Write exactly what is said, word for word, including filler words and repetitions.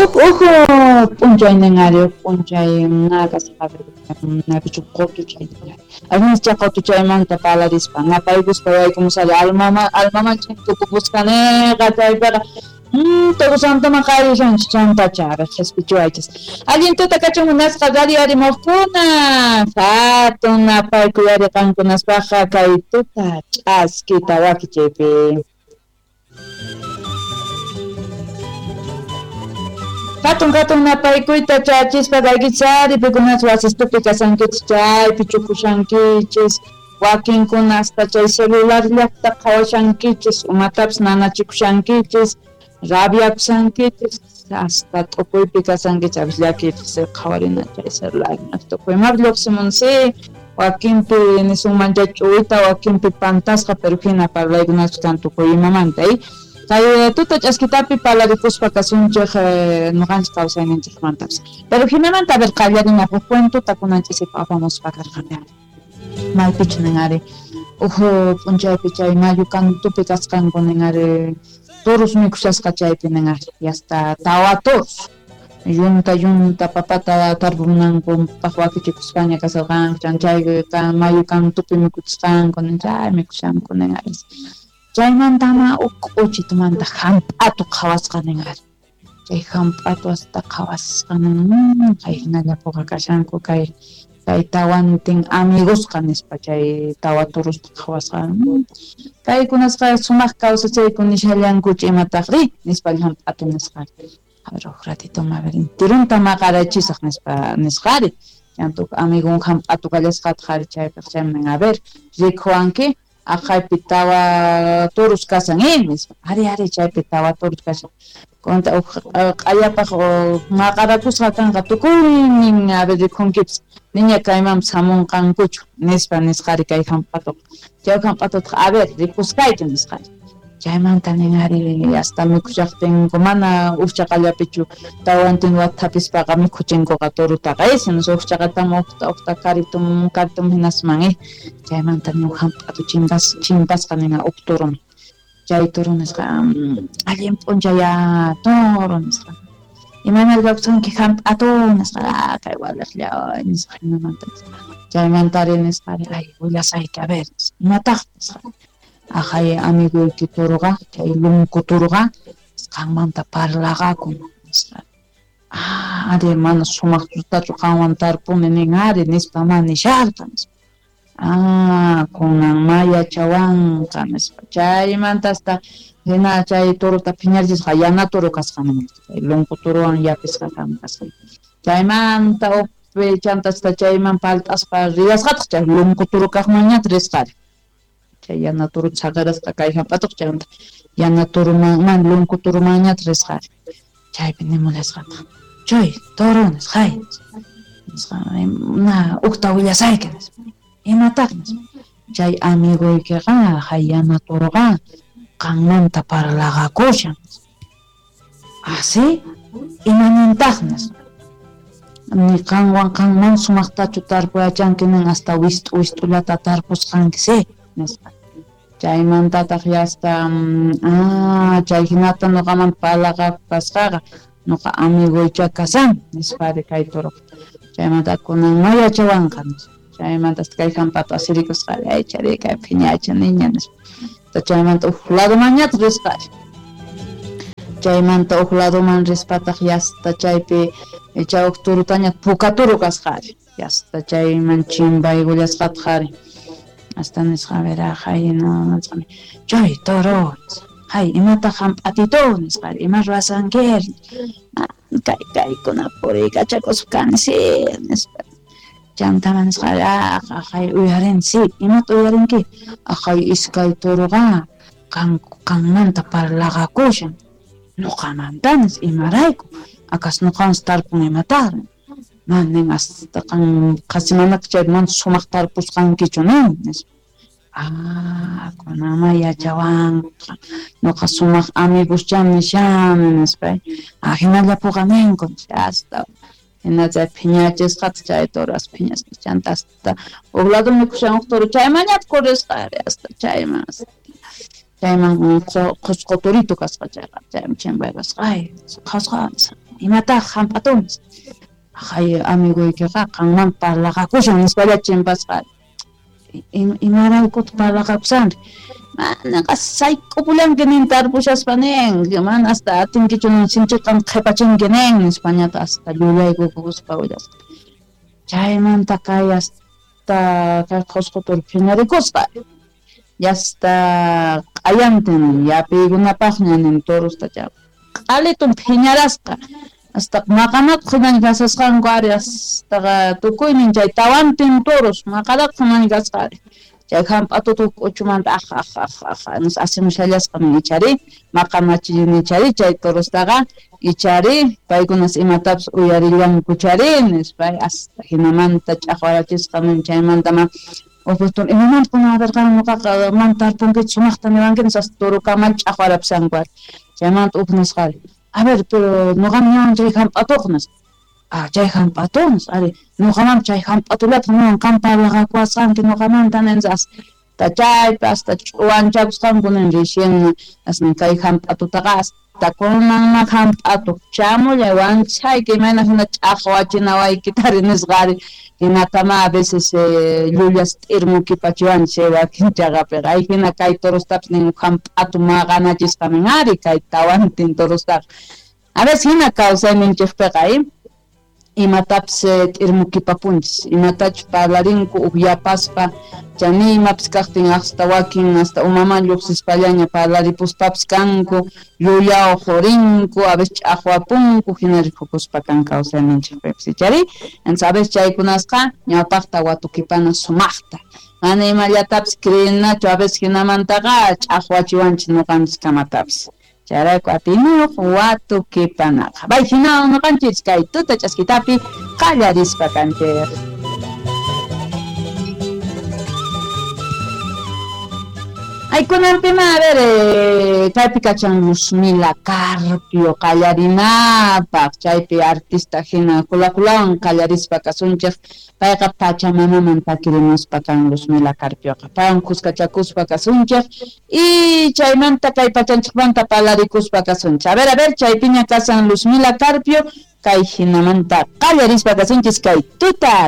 Uj uj p'unchaynin ari uj p'unchay nakasqa napichu qutuchay allincha qutuchaymanta parlarispa napaykuspa yaykumusari almama almamanchik tukupusqaniqa chaypiqa Todo santo maqarishanchik chantacha qhispichiwaychis. Allin tuta kachun munasqa radio arimuqkuna hatun napaykuy ari qankunaspaqqa kay tuta ch'askita wakichaypi. Hatun hatun napaykuyta chachispa kaykichari pikunas wasistupi kasankichis chaypi chukushankichis wakinkuna hasta chay celular llaqta qhawashankichis umatapis nanachikushankichis rabiakusankichis hasta t'ukuypi kasankichis a veces llakiypis qhawarina chay celular tukuymapi lluqsimunsi wakinpi nisunman chay ch'uwita wakinpi pantasqa pero hina parlaykunachu kan tukuy imamanta y kay tuta ch'askitapi parlarikuspa kasunchik nuqanchik kawsayninchikmantapis pero hinamanta a ver qallarina huk cuentota kunanchisipa apamuspa karqani maypichu nin ari uj p'unchaypi chay mayu kantupi kasqanku nin ari toros mikushasqa chaypi nin ari hasta tawa toros yunta yunta papata tarpunankunpaq wakichikuspaña kasarqanku chay mayu kantupi mikuchisqanku nin chay mikushanku nin ari chaymantama uj k'uchitumanta hamp'atu qhawasqa nin ari chay hamp'atu hasta qhawasqa nin kay hinallapuqa kashanku kay kay tawantin amigosqa nispa chay tawa turusta qhawasqa kaykunasqa sumaq kawsachayku nishallankuchu imataqri nispa hamp'atu nisqa a ver uj ratito a ver intirunta maqarachisaq nispa nisqari chanta uj amigun hamp'atu kallasqataq ari chaypaq chayman a ver rikuwanki aqhaypi tawa turus kasan eh nispa ari ari chaypi tawa turus kashan kunta uj q'ayapaq maqarakusqa kanqa tukuynin a ver rikunkipis niña kaymanpis hamunqankuchu nispa nisqari kay hamp'atuqa chay hamp'atutaq a ver rikusqayki nisqari chaymanta nin ari hasta mikushaqtinku mana uqchaqallapichu tawantin wathapispaqa mikhuchinkuqa turutaqa eh sino uqchaqatam uqta uqta karitum karitum hinasman eh chaymanta nin hamp'atu chinkas chimpasqa nin uq turum chay turu nisqa allin p'unchay turu nisqa imayna kawsanki hamp'atu nisqa kay waliqlla nisqa hinamanta chaymanta ari nisqa ay willasayki a ver imataq nisqa aqhay amiguyki turuqa chay lunku turuqa qanmanta parlaqakun nisqa ah ari mana sumaqtachu qanwan tarpuni nin ari nispa ma nisharqa nispa ah kunan ma yachawanqa nispa chaymanta hasta hina chay turuta phiñarchisqa yana turu kasqa nin chay lunku turuwan yapisqa kasqa chaymanta uqpi chanta hasta chayman palt'aspa riyasqataq chay lunku turu kaqmanñataq risqari chay yana turu saqirasqa kay hamp'atuq chaymanta yana turuman lunku turumanñataq risqari chaypi nimulasqataq chay turu nisqay nisqa na uqta willasayki nispa imataq nispa chay amiguykiqa hay yana turuqa qanmanta parlaqakushan ah sí imanintaq nispa ni qanwan qanman sumaqtachu tarpuyachanki nin hasta wist'u wist'ullata tarpusqanki sí nispa chaymantataq hasta ah chay hinata nuqaman parlaqaku kasqaqa nuqa amiguycha kasan nispari kay turuqa chaymanta kunan ma yachawanqa nispa chaymanta hasta kay hamp'atu asirikusqari ay chari kay phiñacha niña nispa chaymanta uj ladomanñataq risqari chaymanta uj ladoman rispataq hasta chaypi chay uj turutaña puka turu kasqari hasta chayman chimpaykullasqataq ari hasta nisqa a ver hay no nisqa chay toro hay imataq hamp'atito nisqa ima ruwasanki kay kaykuna puriykachakuspa kani si nispa chantama nisqa aqhay uyarin si imata uyarinki aqhay iskay turuqa qan qanmanta parlaqakushan nuqamanta nis imarayku akas nuqansi tarpun imataq man nin hasta qan qhasimanaka chay mana sumaq tarpusqankichu nin nispa ah kunanma yachawanqa nuqa sumaq amiguschá nishani nispa ah hinallapuqa ninku hasta hina chay phiñachisqataq chay turas phiñasqa chanta hasta uj lado mikushan uj turu chaymanñataq kurisqari hasta chayman chayman qhusqu turito kasqa chayqa chayman chimpaykusqa ay qhasqa Imataq hamp'atun? Hay amiguykiqa qanman parlaqakushan nispalla chimpasqa. Imaraykutaq parlaqakushanri? Manaqa sayk'upullanki nin tarpushaspa nin, mana hasta atinkichu nin sinchiqan qhipachinki nin nispañata hasta llullaykukuspa willasqa. Chaymanta kay hasta kay Qhosqo toro phiñarikusqa. Yasta q'ayantin yapiykunapaqña nin torosta chay q'alitun phiñarasqa. Hasta maqanakuq hinan kasasqanku ari hasta tukuynin chay tawantin toros maqanakuq hinan kasqa ari. Chay hamp'atutuq k'uchumanta aj aj aj aj asimushallasqa nin ichari maqanachini ichari chay torostaqa ichari paykunas imatapis uyarillanku chari nispa hasta hinamanta ch'aqwarachisqa nin chaymanta ma Uqtun imamanta kunadarqani ñuqaqa mana tarpunkichu sumaqta niwanki nispa hasta torokamal ch'aqwarapishanku ari. Chaymanta uj nisqa ari a ver pero ñuqam ñawan chay hamp'atuq nispa. Ah, chay hamp'atu nispa ari ñuqaman chay hamp'atullataq niwan qam parlaqakuwasqanki ñuqamanta nin hasta chaypi hasta ch'uwanchakusqanku nin recién asni kay hamp'atutaqa hasta kunanma hamp'atu chamullay wanchayki imayna hina ch'aqwachinawaykitari nisqa ari. Hinatama a veces llullas t'irmukipachiwanchik wakin chaqapiqa ay hina kay torostapis nin hamp'atu maqanachisqa nin ari kay tawantin torostaqa. A veces hina kawsayninchikpiqa ay imatapis t'irmukipapunchis imatachus parlarinku ukyapaspa chani imapis kaqtin hasta wakin hasta umaman lluqsispallaña parlaripuspapis kanku llullaw qurinku a veces ch'aqwapunku hina rikukuspa kan kawsayninchikpipis ichari. Entonces a veces chaykunasqa ñawpaqta watukipana sumaqta mana imallatapis creenachu a veces hinamantaqa ch'aqwachiwanchis ñuqanchis kamatapis. Chayrayku atiniyuq watukipanaqa. Bay hina ñuqanchis kay tuta ch'askitapi qallarispa kanchik. Ay kunanpima a ver eh, kaypi kachan Luzmila Carpio qallarinapaq chaypi artista hina kulakulawan qallarispa kasunchik payqa Pachamamaman takirimuspa kan Luzmila Carpioqa paywan kuskachakuspa kasunchik y chaymanta kay pachanchikmanta parlarikuspa kasunchik. A ver a ver chaypiña kasan Luzmila Carpio kay hinamanta qallarispa kasunchis kay tuta